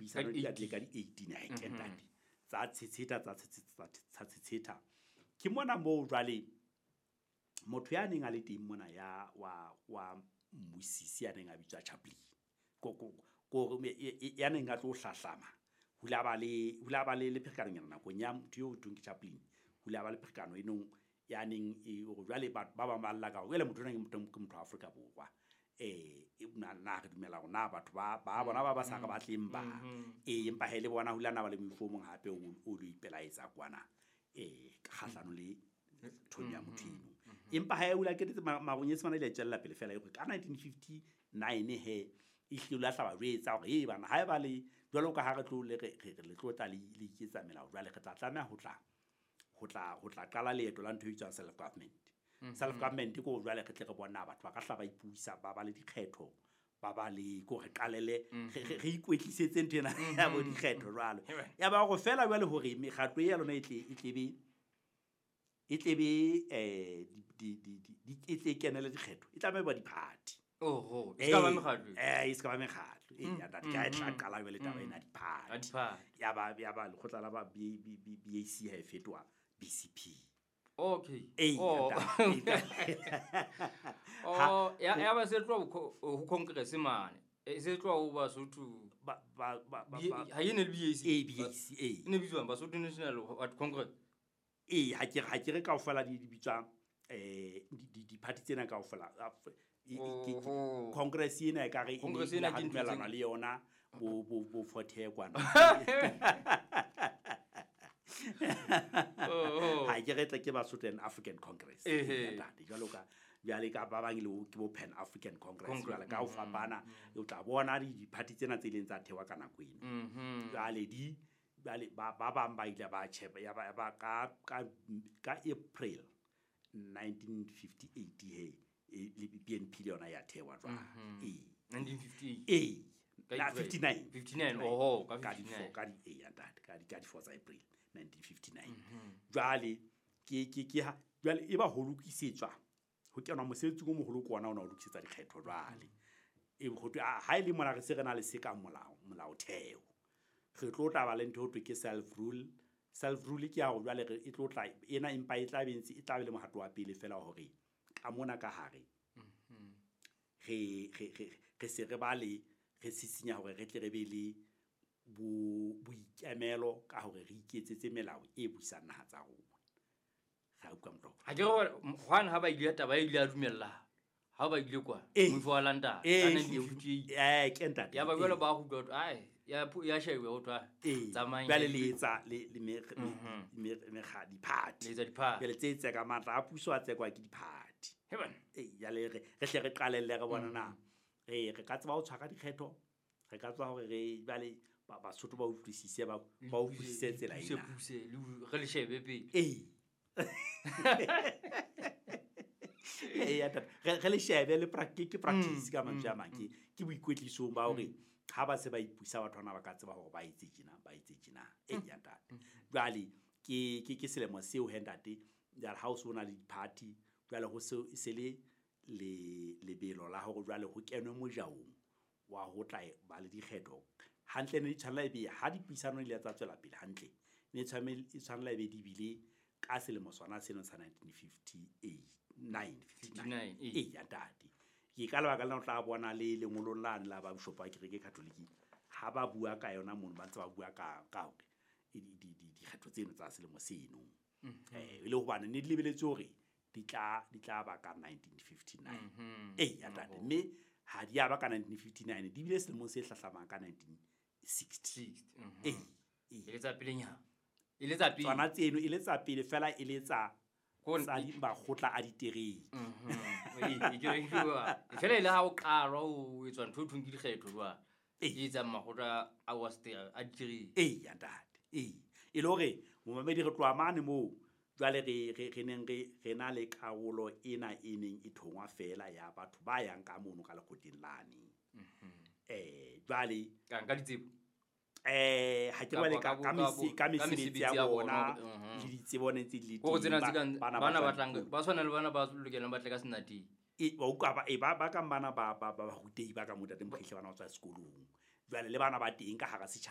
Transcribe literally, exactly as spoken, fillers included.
Dipuisano di atle ka di-eighteen ha ke ntate. Tsa tshetsheta tsa tshetsheta tsa tshetsheta. Ke mona moo jwale motho ya neng a le teng mona ya wa wa mmusisi ya neng a bitswa Chaplin. Ko ko ko ya neng a tlo hlahlama. Ho la ba le ho la ba le le pherekano nakong ya motho eo thweng ke Chaplin. Ho la ba le pherekano e nong ya neng e hore jwale ba ba bang ba lla ka hore jwale motho ona ke motho ke motho wa Afrika Borwa. Eh na na re dumela hore na batho ba ba bona ba ba sa re batleng ba. Eh empa he le bona ho la na ba le moifo o mong hape o o lo ipelaetsa kwana. Eh kgahlano le thong ya motho eno. Empa ha e o la ketetse maronyetsi mana ile tswella pele fela e hore ka nineteen fifty-nine he e hlile la hlaba jwetsa hore e bana ha e ba le jwalo ka ha re tlo le re re le tlo tla le le iketsa melao jwale re tla tlameha ho tla ho tla ho tla qala leeto la ntho e bitswang self government. Self government ko jwale re tle re bona batho ba ka hla ba ipuisa ba ba le dikgetho ba ba le ko re qalele re ikwetlisetse ntho ena ya bo dikgetho jwalo. Ya ba go fela jwale hore mekgatlo ya lona e tle e tle be e tle be eh di di di e tle kenele dikgetho e tlameha ba di-party. Oho, e ska ba mekgatlo. Eh, e ska ba mekgatlo. Eh, ya ntate ka e tla qala jwale taba ena di-party. Ya ba ya ba lekgotla la ba B B B A C ha e fetoha B C P. Okay. Eh, oh. Oh, ya ya ba se tlo ho Congress mane. E se tlo ho Basotho ba ba ba ha e ne le B A C. A B A C A. E ne bitswang Basotho National what Congress. Eh, ha ke ha ke re kaofela di di bitswa eh di di party tsena kaofela. Congress ena e ka re Congress ena ke dumelana le yona bo bo bo Forte kwana. Oh. Ha ke re tle ke Basotho and African Congress. Ntate jwalo ka jwale ka ba bang le ke bo Pan African Congress jwale ka ho fapana o tla bona di party tsena tse ileng tsa thewa ka nako eno. Jwale di jwale ba ba bang ba ile ba tjhepa ya ba ba ka ka ka April nineteen fifty-eight he le B N P le yona ya thewa jwale. Eh nineteen fifty-eight. Eh na fifty-nine. fifty-nine oho ka ka fifty-nine. Ka di eh ya ntate ka di ka di four tsa April nineteen fifty-nine. Jwale ke ke ke ha jwale e ba ho lokisetswa ho kenwa mosebetsi o moholo ke ona ona ho lokisetsa dikgetho jwale. E ho thwe ha ile mona re se re na le se ka molao molaotheo. Re tlo tla ba le ntho ho thwe ke self rule. Self rule ke ya hore jwale re e tlo tla ena empa e tla be ntse e tla be le mohato wa pele fela hore ka mona ka hare re re re re se re ba le re sisinya hore re tle re be le bo boikemelo ka hore re iketsetse melao e busang naha tsa rona. Ga utlwa motho. Ha ke re hwane ha ba ile taba e ile a dumella. Ha ba ile kwa moifo wa London ka nineteen fifty-eight. Eh ke ntate. Ya ba jwale ba go utlwa ai ya ya shewe ho thwa tsamayang. Jwale le etsa le le me me me ga di-party. Le etsa di-party. Jwale tse tse ka matla a puso a tsekwa ke di-party. He bana. Eh ya le re re hle re qalelle re bona na re re ka tseba ho tshwara dikgetho. Re ka tswa hore re jwale ba Basotho ba utlwisise ba ba utlwisise tsela ena. Puse le re le shebe pele. Eh. Eh ya tata re re le shebe le practice ke practice ka mantswe a mang ke ke boikwetlisong ba hore ha ba se ba ipusa batho bana ba ka tseba hore ba etse tjena ba etse tjena. Eh ya tata. Jwale ke ke ke selemo seo he ntate jwale ha o so na le di-party jwale ho se se le le lebelo la hore jwale ho kenwe mojaong wa ho tla ba le dikgetho hantle ne di tshwanela ebe ha dipuisano di ile tsa tswela pele hantle ne tshwanela e tshwanela ebe di bile ka selemo sona seno sa nineteen fifty-eight nine fifty-nine eh ya ntate. Ke ka lebaka lena o tla bona le lengolong lane la ba bishopo ba kereke Catholic ha ba bua ka yona mono ba ntse ba bua ka ka hore di di dikgetho tseno tsa selemo seno. Eh e le hobane ne di lebeletse hore di tla di tla ba ka nineteen fifty-nine. Eh ya ntate mme ha di ya ba ka nineteen fifty-nine di bile selemong se hlahlamang ka nineteen sixty. Eh e le tsa pelenyana. E le tsa pele. Tsona tseno e le tsa pele fela e le tsa tsa di makgotla a ditereke. Mhm. E ke re ke fela ile ha o qalwa o etswa ntho e thweng ke dikgetho jwale. E etsang makgotla a wa a ditereke. Eh ya ntate. Eh e le hore momamedi re tloha mane moo jwale re re re neng re re na le karolo ena e neng e thongwa fela ya batho ba yang ka mono ka lekgotleng lane. Mhm. Eh jwale ka nka ditsebo. Eh ha ke bale ka ka ka mesebetsi ya bona le ditsebo ne tse di le teng bana ba tlang ba tshwana le bana ba lokelang ba tle ka senateng e ba utlwa ba e ba ba ka bana ba ba ba rutehi ba ka mo ntate Mokhehle bana ba tswa sekolong jwale le bana ba teng ka hara setjhaba.